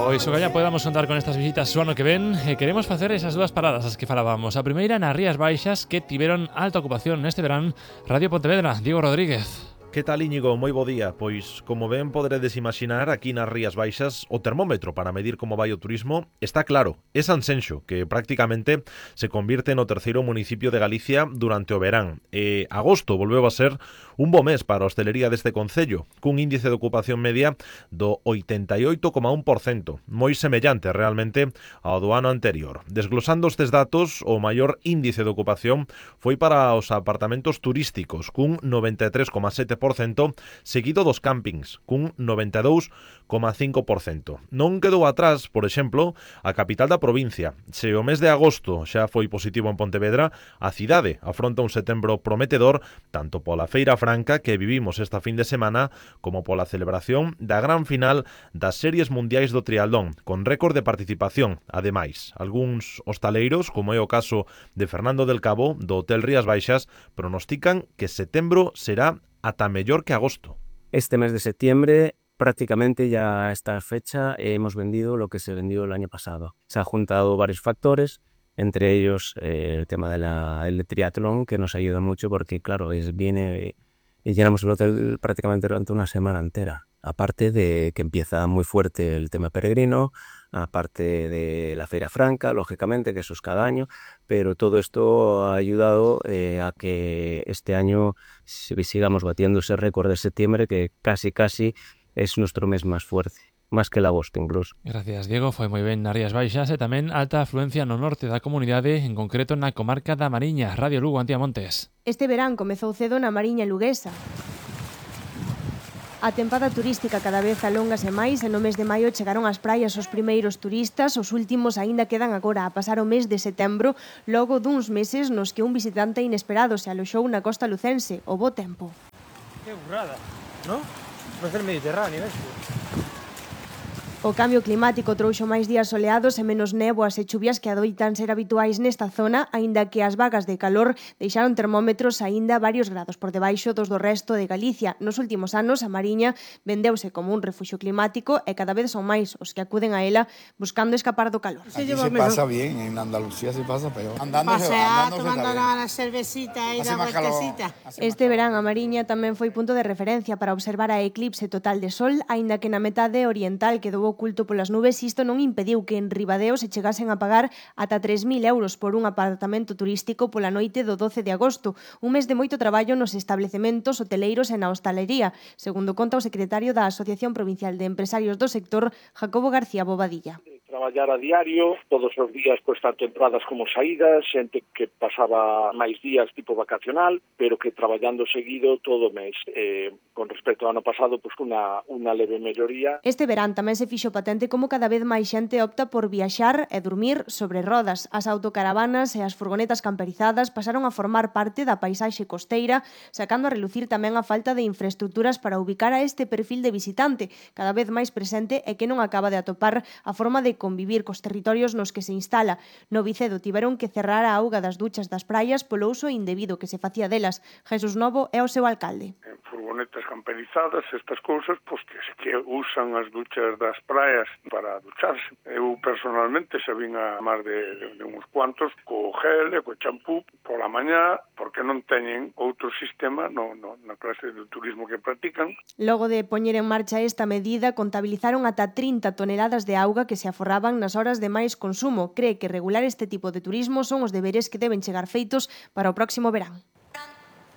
Pois o que podamos contar con estas visitas o ano que ven, queremos facer esas dúas paradas as que falábamos. A primeira nas Rías Baixas, que tiveron alta ocupación neste verán. Radio Pontevedra, Diego Rodríguez. Que tal, Íñigo? Moi bo día. Pois, como ben poderedes imaginar, aquí nas Rías Baixas o termómetro para medir como vai o turismo está claro. É Sanxenxo, que prácticamente se convirte no terceiro municipio de Galicia durante o verán. E agosto volveu a ser un bo mes para a hostelería deste concello, cun índice de ocupación media do 88,1%, moi semellante realmente ao do ano anterior. Desglosando estes datos, o maior índice de ocupación foi para os apartamentos turísticos, cun 93,7%, seguido dos campings, cun 92,5%. Non quedou atrás, por exemplo, a capital da provincia. Se o mes de agosto xa foi positivo en Pontevedra, a cidade afronta un setembro prometedor tanto pola Feira Franca que vivimos esta fin de semana como pola celebración da gran final das Series Mundiais do Triatlón, con récord de participación. Ademais, algúns hostaleiros, como é o caso de Fernando del Cabo, do Hotel Rías Baixas, pronostican que setembro será ata mellor que agosto. Este mes de septiembre, prácticamente ya a esta fecha, hemos vendido lo que se vendió el año pasado. Se han juntado varios factores, entre ellos el tema del triatlón, que nos ayuda mucho porque, claro, viene y llenamos el hotel prácticamente durante una semana entera. Aparte de que empieza muy fuerte el tema peregrino, aparte de la Feira Franca, lógicamente, que eso es cada año, pero todo esto ha ayudado a que este año sigamos batiendo ese récord de septiembre, que casi es nuestro mes más fuerte, más que el agosto incluso. Gracias, Diego. Foi moi ben nas Rías Baixas e tamén alta afluencia no norte da comunidade, en concreto na comarca da Mariña. Radio Lugo, Antía Montes. Este verán comezou cedo na Mariña luguesa. A tempada turística cada vez alóngase máis e no mes de maio chegaron ás praias os primeiros turistas, os últimos aínda quedan agora a pasar o mes de setembro, logo duns meses nos que un visitante inesperado se aloxou na costa lucense, o bo tempo. Que burrada, ¿no? Vai ser Mediterráneo, eso. O cambio climático trouxo máis días soleados e menos néboas e chuvias que adoitan ser habituais nesta zona, aínda que as vagas de calor deixaron termómetros aínda varios grados por debaixo dos do resto de Galicia. Nos últimos anos, a Mariña vendeuse como un refuxio climático e cada vez son máis os que acuden a ela buscando escapar do calor. Aquí se pasa bien, en Andalucía se pasa peor. Tomando la cervecita y la vueltecita. Este verán a Mariña tamén foi punto de referencia para observar a eclipse total de sol, aínda que na metade oriental quedou oculto polas nubes, isto non impediu que en Ribadeo se chegasen a pagar ata 3.000 euros por un apartamento turístico pola noite do 12 de agosto, un mes de moito traballo nos establecementos hoteleiros e na hostalería, segundo conta o secretario da Asociación Provincial de Empresarios do Sector, Jacobo García Bobadilla. Traballar a diario, todos os días, pois tanto entradas como saídas, xente que pasaba máis días tipo vacacional, pero que traballando seguido todo o mes. Con respecto ao ano pasado, pois unha leve melloría. Este verán tamén se fixo patente como cada vez máis xente opta por viaxar e dormir sobre rodas. As autocaravanas e as furgonetas camperizadas pasaron a formar parte da paisaxe costeira, sacando a relucir tamén a falta de infraestructuras para ubicar a este perfil de visitante, cada vez máis presente e que non acaba de atopar a forma de convivir cos territorios nos que se instala. No Vicedo tiveron que cerrar a auga das duchas das praias polo uso indebido que se facía delas. Jesús Novo é o seu alcalde. Furgonetas camperizadas, estas cousas, pois que usan as duchas das praias para ducharse. Eu personalmente xa vin a máis de uns cuantos co gel e co champú pola mañá, porque non teñen outro sistema na clase de turismo que practican. Logo de poñer en marcha esta medida, contabilizaron ata 30 toneladas de auga que se aforraban nas horas de máis consumo. Cree que regular este tipo de turismo son os deberes que deben chegar feitos para o próximo verán.